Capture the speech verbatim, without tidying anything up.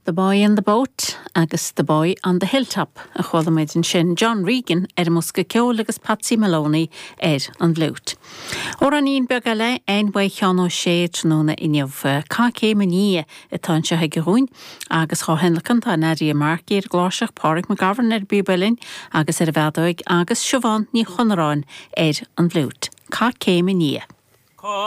The Boy in the Boat agus The Boy on the Hilltop a chuala muid ansin John Regan ar an mbosca ceoil agus Patsy Maloney ar an bhfliúit. Amhráinín beag eile againn ó Sheán Ó Sé tráthnóna inniu Caith Céim i nDiaidh atá anseo aige dhúinn agus á thionlacan tá Nadia Markey ar gcláirseach Pádraig McGovern ar an bpíob uilleann agus ar an bhfeadóig agus Siobhán Ní Chonaráin ar an bhfliúit. Caith Céim i nDiaidh.